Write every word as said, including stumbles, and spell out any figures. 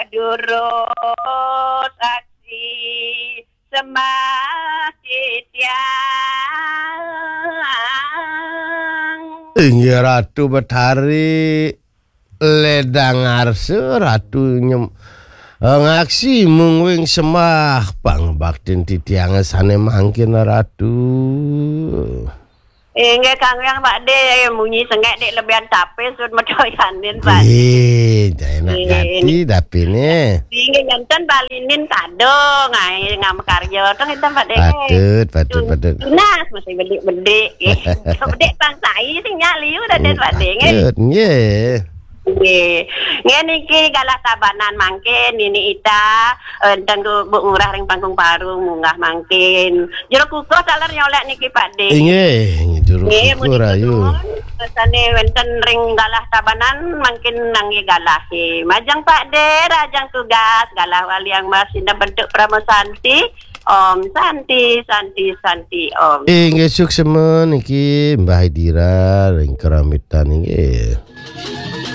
Durus aksi sembah titiang. Inggih Ratu Betari, ledang arsa Ratu nyem, eh, ngaksi mungwing sembah pangbaktin titiang sane mangkin Ratu. Inggih kang yang Pak De, munyi sengek dek lebihan tape sut medoyanin Pak De. Eh, jai nak gati dapine. Inggih janten balinin kado ngai ngam karya tong enten Pak De. Patut, patut, patut. Tunas masih bedik-bedik. Bedik pang sai sing nyak liu raden Pak De nggih. Patut, nggih. Nggih. Nggih niki galah tabanan mangkin nini ita, eh, enten ku Bu Ngurah ring Panggung Parung munggah mangkin. Jero kukuh taler nyolek niki Pak De. Inggih, jero kukuh rayu. Sane wenten ring galah tabanan mangkin nangge galah. Majeng Pak De, rajang tugas, galah waliang mas indah bentuk Parama Santi. Om Santi, Santi, Santi, Om. Inggih suksema niki Mbah Idira ring Keramitan inggih.